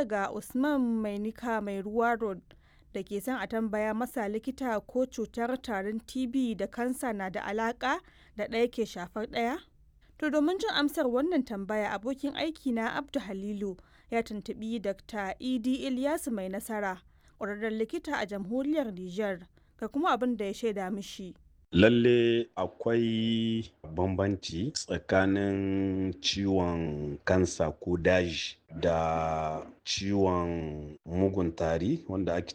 daga Usman Mainika Mai Ruwa Road da ke son a tambaya masa likita ko cutar tarin TB da kansa na da alaƙa da ɗaya ke shafar ɗaya? To domin jin amsar wannan tambaya, abokin aiki na Abdu Halilu ya tuntuɓi Dr. Idi Ilyasu Mai Nasara, ƙwararren likita a jamhuriyar Nijar, ga kuma abin da ya shaida mishi. Lalle akwai bambanci tsakanin ciwon kansa ko daji da ciwon mugun tari wanda ake